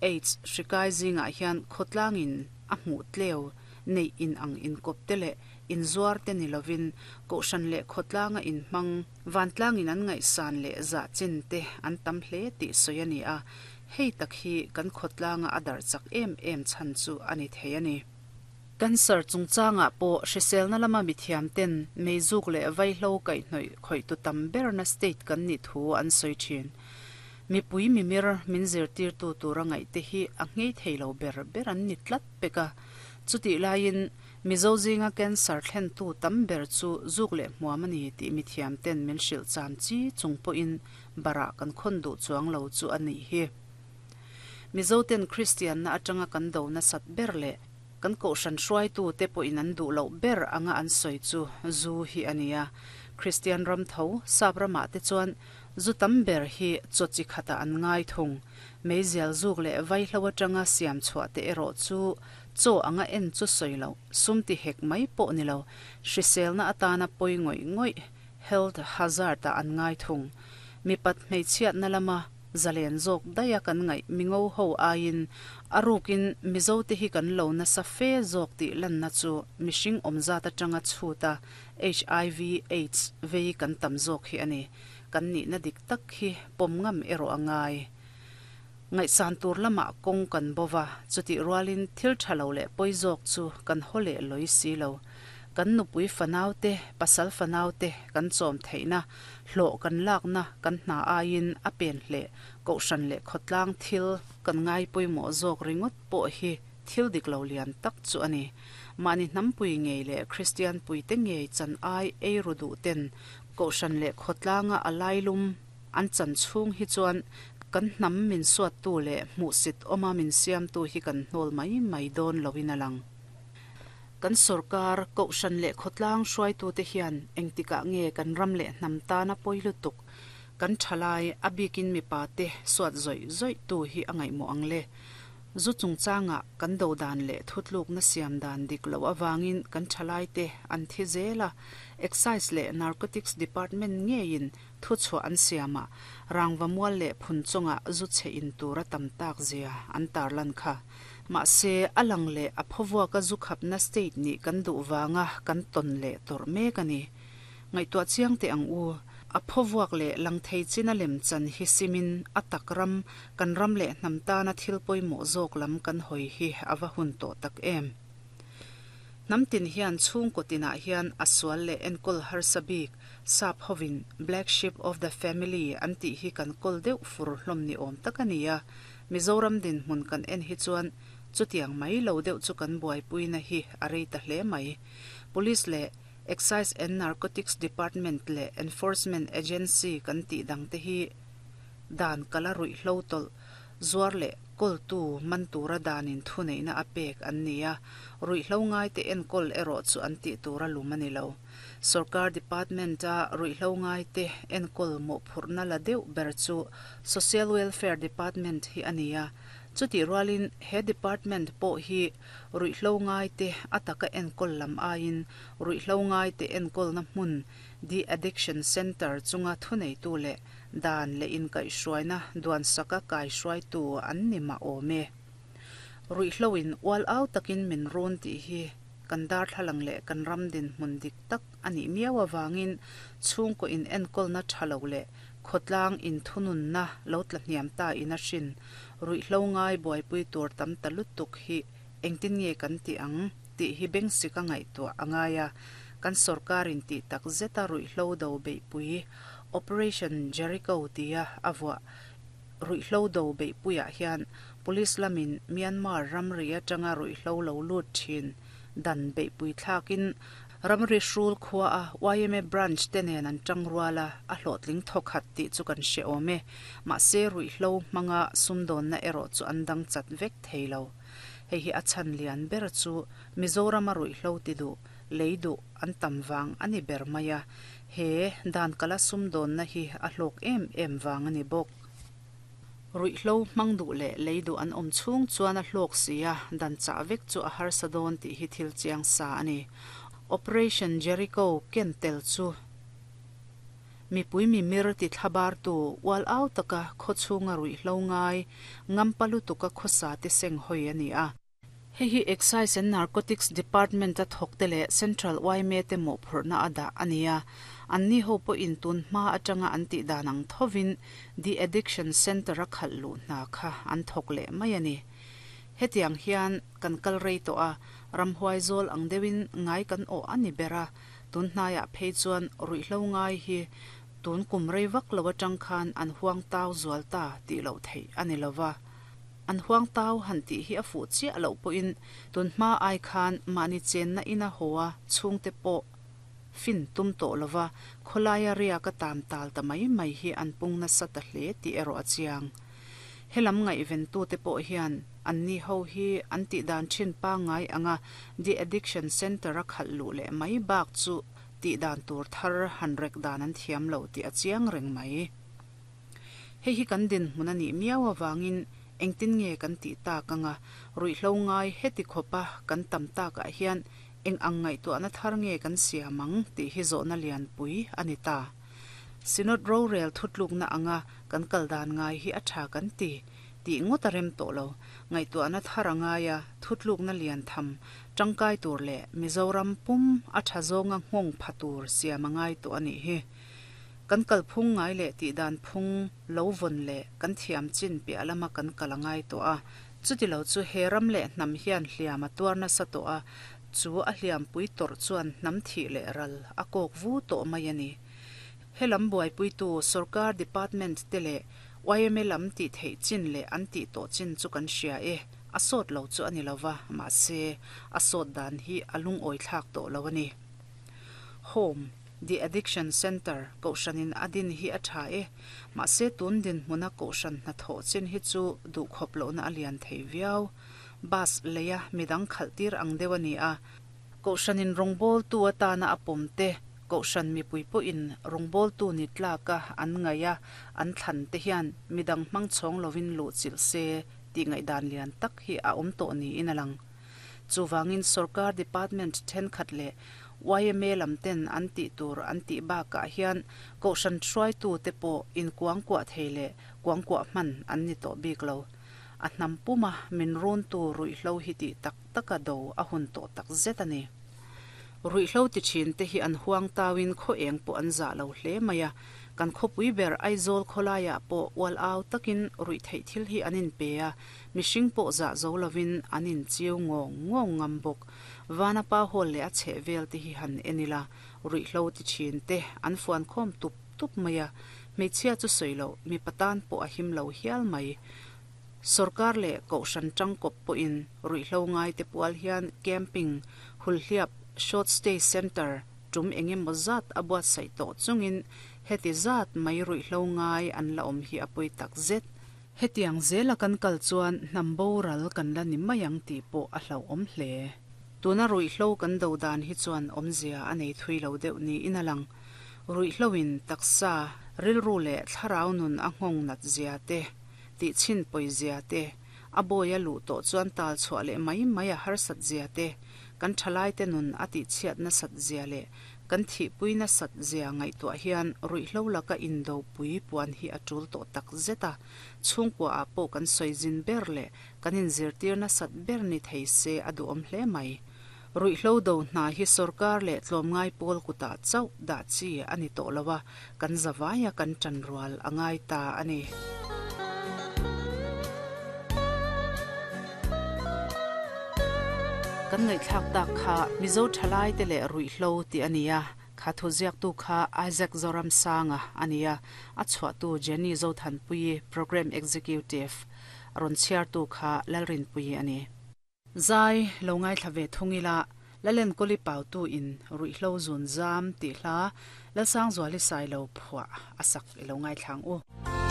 AIDS hri kai zingah hian khawtlangin a hmuh tleu neih in ang inkawp te leh inzuar te ni lovin kohhran leh khawtlanga inhmang vantlangin an ngaihsan leh zah chin te an tam hle tih sawi a ni a, hei tak hi kan khawtlanga a darh chak em em chhan chu a ni thei a ni. Cancer chungchangah pawh hriselna lama mithiam ten meizuk leh vaihlo kaihhnawih khawihtu tam berna state kan nih thu an sawi thin. Mipui mimir min zirtirtu tura ngaihte hi a nghei thei lo ber ber an ni tlat pek a. Chutih laiin Mizo zinga cancer thlentu tam ber chu zuk leh hmuam a ni tih mithiam ten min hrilh cham chi chung pawhin barah kan khawn duh chuang lo chu a nih hi. Mizo ten Kristianna atanga kan do nasat ber leh kan kohhran hruaitu te pawhin an duh loh ber anga an sawi chu zu hi a ni a. Kristian ram tho, sap ramah te chuan zu tam ber hi chaw chi khatah an ngai thung. Meizial zuk leh vaihlo atanga siam chhuah te erawh chu chaw anga en chu sawi loh, sum ti hek mai pawh ni lo, hriselna atana pawi ngawih ngawih, health hazard ah an ngai thung. Mipat hmeichhiatna lama zalen zawk daih a kan ngaih mingo ho aiin a rukin Mizo te hi kan lo nasa fe zawk tih lanna chu mihring awmzat atanga chhuta HIV aids vei kan tam zawk hi a ni. Kan nihna dik tak hi pawm ngam erawh a ngai. Ngaihsan tur lamah kawng kan bo va, chutih rualin thil tha lo leh pawi zawk chu kan haw leh lawi si lo. Kan nupui fanaute, pasal fanaute kan chawm theihna, hlawh kan lakna kan hna aiin a pen hleh kohhran leh khawtlang thil kan ngai pawimawh zawk ringawt pawh hi thil dik lo lian tak chu a ni. Mahni hnampui ngei leh Kristian puite ngei chan ai ei ru duh ten kohhran leh khawtlanga a lailum an chan chhung hi chuan kan hnam min suattu leh hmuhsit awma min siamtu hi kan hnawl mai mai dawn loin a lang. Kan sorkar, kohhran leh khawtlang hruaitute hian engtikah nge kan ram leh hnam tana pawi lutuk, kan thalai, a bikin mipate suat zawih zawihtu hi a ngaihmawh ang le? Zu chungchangah kan do dan leh thutlukna siam dan dik loh avangin kan thalaite an thi zel a, Excise leh Narcotics Department ngeiin thuchhuah an siamah rangva mual leh phun chungah zu chhe in tur a tam tak zia an tarlan kha. Mahse, a lang leh a phawvuaka zu khapna state nih kan duh vanga kan tawn leh tawrh mek a ni. Ngaihtuah chiang teh ang u, a phawvuak leh lang thei china lem chan hi simin a tak ram, kan ram leh hnam tana thil pawimawh zawk lam kan hawi hi a va hun tawh tak em. Hnam tin hian chhungkaw tinah hian a sual leh enkawl harsa bik, sap hovin Black Sheep of the Family an tih hi kan kawl deuh fur hlawm ni awm tak a ni a, Mizoram dinhmun kan en hi chuan chutiang mai lo deuh chu kan buaipuina hi a rei ta hle mai. Police leh Excise and Narcotics Department leh Enforcement Agency kan tih dangte hi dan kala ruihhlo tawlh zuar leh kawltu man tura danin thuneihna a pek an ni a, ruihhlo ngaite enkawl erawh chu an tih tura lum a ni lo. Sorkar department-a ruihhlo ngaite enkawl mawhphurhna la deuh ber chu Social Welfare Department hi a ni a, chutih rualin he department pawh hi ruihhlo ngaite a taka enkawl lam aiin ruihhlo ngaite enkawlna hmun De-addiction Centre chunga thuneitu leh dan leh inkaihhruaina duansaka kaihruaitu an ni mah awm e. Ruihhlo in ual au takin min run tih hi kan darthlalang leh kan ram dinhmun dik tak a nih miau avangin chhungkaw in enkawlna tha lo leh khawtlang inthununna lo tla hniam ta in a hrin ruihhlo ngai buaipui tur tam ta lutuk hi engtin nge kan tih ang tih hi bengsik a ngaihtuah a ngai a, kan sorkarin tih tak zeta ruihhlo do beihpui Operation Jericho tia a vuah ruihhlo do beihpuiah hian Police lamin Myanmar ramri atanga ruihhlo lo lut thin dan beihpui thlakin ramri hrul khua a yma branch te nen an tang rual a, a hlawhtling thawkhat tih chu kan hre awm e. Mahse ruihhlo hmanga sumdawnna erawh chu an dang chat vek thei lo. Hei hi a chhan lian ber chu Mizorama ruihhlo ti duh, lei duh an tam vang a ni ber mai a, he dan kala sumdawnna hi a hlawk em em vang a ni bawk. Ruihhlo hmang duh leh lei duh an awm chhung chuan a hlawk si a, dan chah vek chu a harsa dawn tih hi thil chiang sa a ni. Operation Jericho ken tel chu. Mipui mimir ti thlabartu ual au taka khawchhunga ruihhlo ngai, ngampa lutuka khawsa te seng hawi a ni a. Hei hi Excise and Narcotics Department a thawkte leh Central yma te mawhphurhna a dah a ni a. Anni ho pawhin tun hma atanga an tih dan ang thovin De Addiction Centre a khalh luh hna kha an thawk leh mai a ni. Hetiang hian kan kal rei tawh a, ramhuai zawl ang deuhin ngai kan awh a ni ber a, tun hnaiah phei chuan ruihhlo ngai hi tun kum rei vak lo atang khan an huang tau zual ta tih loh theih a ni lova. An huang tau han tih hi a fuh chiah loh pawhin tun hma ai khan mahni chenna ina haw a chhungte pawh fin tum tawh lova khawlaia riak a tam tal ta mai mai hi an pung nasa ta hle tih erawh a chiang. Helam ngaihventute pawh hian anni ho hi an tihdan thin pangngai anga de addiction centre a khalh luh leh mai bak chu tihdan tur thar han rek dan an thiam lo tih a chiang reng mai. Hei hi kan dinhmun a nih miau avangin engtin nge kan tih tak anga ruihhlo ngai heti khawpa kan tam takah hian eng ang ngaihtuahna thar nge kan siam ang tih hi zawhna lianpui a ni ta. Synod rorel thutlukna anga kan kal dan ngai hi a tha kan ti tih ngawt a rem tawh lo. Ngaihtuahna thar a ngai a, thutlukna lian tham tangkai tur leh Mizoram pum a tha zawnga nghawng pha tur siam a ngai tawh a nih hi. Kan kalphung ngai leh tihdan phung lo vawn leh kan thiam chin piah lama kan kal a ngai tawh a. Chuti lo chu he ram leh hnam hian hliam a tuar nasa tawh a, chu a hliampui tawrh chuan hnam thih leh ral a kawk vu tawh mai a ni. Helam buaipuitu sorkar department te leh yma lam tih theih chin leh an tih tawh chin chu kan hria e, a sawt lo chu a ni lo va, mahse a sawt dan hi a lungawi thlak tawh lo a ni. Home. The Addiction Centre kohhranin a din hi a tha e, mahse tun dinhmuna kohhran hnathawh chin hi chu duhkhawp lohna a lian thei viau. Bus leia midang khalh tir ang deuh a ni a, kohhranin rawngbawltu atana a pawm te, kohhran mipui pawhin rawngbawltu ni tlaka an ngaih a an thlan te hian midang hmang chhawng lovin luhchilh se tih ngaihdan lian tak hi a awm tawh niin a lang. Chuvangin sorkar department thenkhat leh yma lam ten an tih tur an tih bakah hian kohhran hruaitu te pawh inkuangkuah thei leh kuangkuah hman an ni tawh bik lo. A hnam puma min runtu ruihhlo hi tih tak taka do a hun tawh tak zet a ni. Ruihhlo ti thin te hi an huang tauin khaw eng pawh an zah lo hle mai a, kan khawpui ber Aizawl khawlaiah pawh ual au takin ruihtheih thil hi an inpe a, Mihring pawh zah zo lovin an inchiu ngawng ngawng ngam bawk. Vana pa hawl leh a chheh vel te hi han en ila, ruihhlo ti thin te an fuan khawm tup tup mai a, hmeichhia chu sawi loh mipa tan pawh a him lo hial mai. Sorkar leh Kohhran tangkawp pawhin ruihhlo ngai te pual hian camping, hulhliap, short stay centre tum eng emaw zat a buatsaih tawh chungin heti zat mai ruihhlo ngai an la awm hi a pawi tak zet. Hetiang zela kan kal chuan hnam boral kan la ni mai ang tih pawh a hlauhawm hle. Tuna ruihhlo kan do dan hi chuan awmzia a nei thui lo deuh niin a lang. Ruihhloin taksa, rilru leh thlarau nun a nghawng nat zia te, tihchhin pawi zia te, a bawi a luh tawh chuan tal chhuah leh mai mai a harsat zia te, kan thalaite nun a tihchhiat nasat zia leh Kan thihpui nasat zia ngaihtuah hian ruihhlo laka indopui puan hi a tul tawh tak zet a, chhungkua ah pawh kan sawi zin ber leh kan inzirtir nasat ber ni thei se a duhawm hle mai. Ruihhlo do hna hi sorkar leh tlawmngai pawl kutah chauh dah chi a ni tawh lo a, kan zavaia kan tan rual a ngai ta a ni. Kan ngaihthlak tak kha Mizo thalaite leh ruihhlo tih a ni a, kha thu ziaktu kha Isaac Zoramsanga a ni a, a chhuahtu Jenny Zothanpuii, Programme Executive, rawn chhiartu kha Lalrinpuii a ni. Zai lo ngaithla ve thung ila, Lalenkawli Pautu in Ruihhlo Zun Zam tih hla Lalsangzuali Sailo phuah a sak i lo ngaithla ang u.